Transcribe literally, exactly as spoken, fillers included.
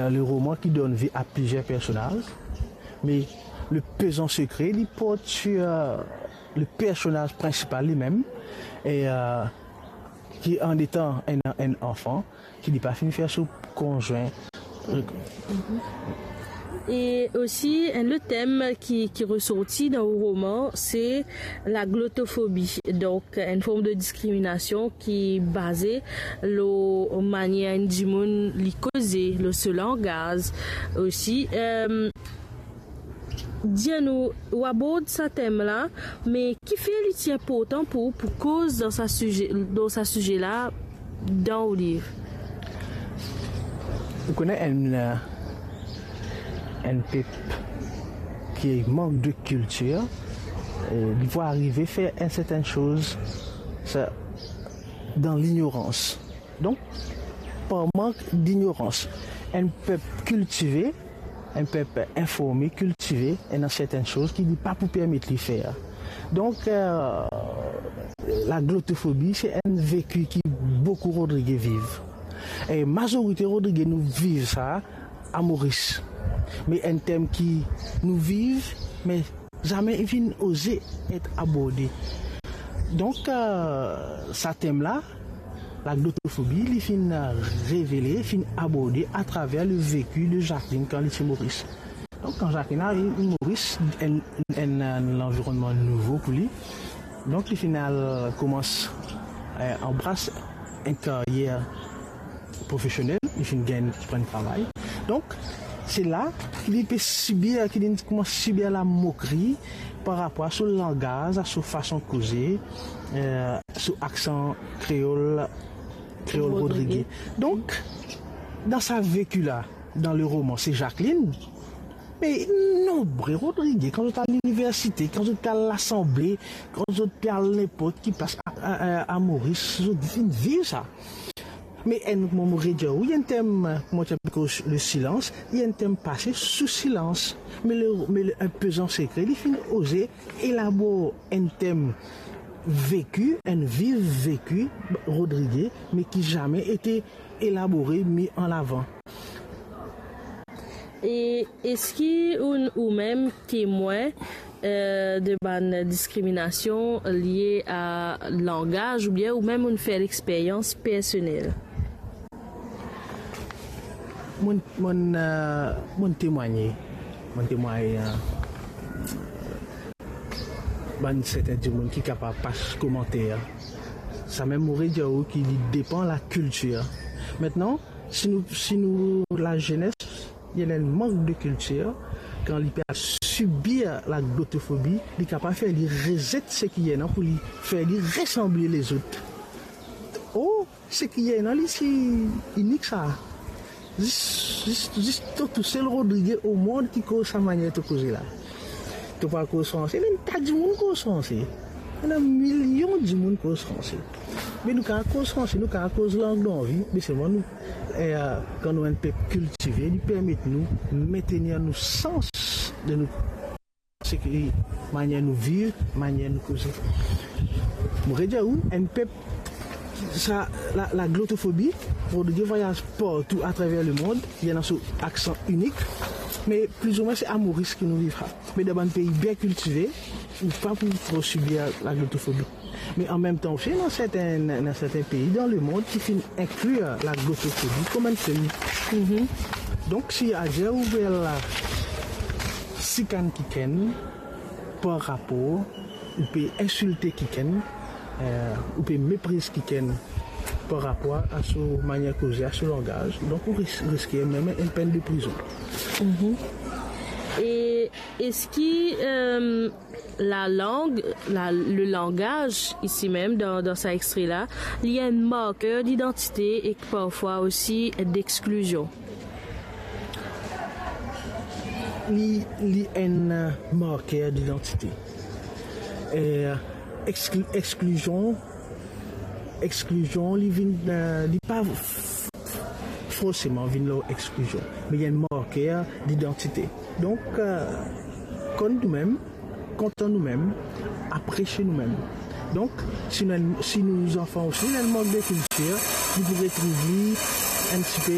le roman ki donn vi a plizier personaz, me Le Pezan Sekre, li port sir, euh, le personaz prinsipal limem, e, euh, ki an etan enn, enn anfan, ki li pa finn fer so konzwin. E osi, enn lot tem ki, ki resorti dan ou roman, se laglotofobi. Donk, enn form de diskriminasion ki baze lor manier enn dimoun li koze, lor so langaz osi. Em, dir nou, ou abord sa tem la, me kifer li ti inportan pou ou pou koz dan sa size, dan sa size la, dan ou liv? Ou kone enn, enn pep ki mank de kiltir, e, li pou arive fer enn sertenn soz, sa, dan lignorans. Donk, par mank dignorans, enn pep kiltive, enn pep informe, kiltive, ena sertenn soz ki li pa pou permet li fer. Donk, euh, laglotofobi, se enn veki ki boukou Rodrige viv. E mazorite Rodrige nou viv sa a Moris. Me enn tem ki nou viv, me zame finn oze et aborde. Donk, euh, sa tem la, laglotofobi, li finn revele, finn aborde atraver le veki de Jacqueline kan li ti Moris. Donk, kan Jacqueline ariv Moris, enn, enn, enn lanvironnman nouvo pou li. Donk, li finn al koumans, eh, anbras enn karyer profesionel, li finn gagn, pran travay. Donk, se la ki li pe sibir, ki li koumans sibir lamokri par rapor a so langaz, a so fason koze, eh, so aksan kreol, kreol Rodrige. Rodrige. Donk, dan sa veki la, dan le roman, se Jacqueline, me nonbre Rodrige, kan zot al liniversite, kan zot al lasanble, kan zot pe al ninport ki plas a, a, a, a Moris, zot finn viv sa. Me enn, mo, mo redir ou, li enn tem, kouma ti apel le silans, li enn tem pase sou silans. Me le, me le, enn pezan sekre, li finn oze elabor enn tem veki, enn viv veki Rodrige, me ki zame ete elabore, mi an avan. E eski ou, ou mem temwin, eh, de bann diskriminasion lie a langaz, oubien ou mem ou fer lexperyans personel? Mo, mo, eh, mo temwagne. Mo temwagne, eh, bann serten dimoun ki kapav pas komanter. Samem mo redir ou ki li depan lakiltir. Aster, si nou, si nou lazenes, li ena enn mank de kiltir, kan li pe al sibir laglotofobi, li kapav fer li rezet seki ena pou li fer li resanble lezot. Oh, seki ena li ti inik sa. Zis, zis, zis to tousel Rodrige omond ki koz sa manier to koze la. To pa koz franse, ena enn ta dimoun koz franse. Ena milion dimoun koz franse. Me nou kapav koz franse, nou kapav koz lang nou anvi, me selman nou, eh, kan nou enn pep kiltive, li permet nou mentenir nou sans de nou seki manier nou viv, manier nou koze. Mo redir ou, enn pep, sa, la, laglotofobi, Rodrige vwayaz partou atraver lemond, li ena so aksan inik, me plizoumwin se a Moris ki nou viv sa. Me dan bann pei bien kiltive, ou pa pou tro sibir laglotofobi. Me anmemtan osi, ena serten, ena serten pei dan lemond ki finn inklir laglotofobi kouma enn tem. Mhm. Donk, si aster ou pe al sikann kikenn par rapor, ou pe insilte kikenn, eh, ou pe mepriz kikenn par rapor a so manier koze, a so langaz, donk ou ris-, riske mem enn penn de prizon. Mhm. E eski, eh, lalang, la, le langaz, isi mem, dan, dan sa extre la, li enn marker didantite ek parfwa osi dexklizion? Li, li enn, eh, marker didantite. Eh, exkli-, exklizion, exklizion, li vinn, eh, li pa f-, f-, forseman vinn lor exklizion, me li enn marker didantite. Donk, eh, konn noumem, kontan noumem, apresie noumem. Donk, si nou, si nou zanfan osi ena enn mank de kiltir, nou pou retrouv li enn tipe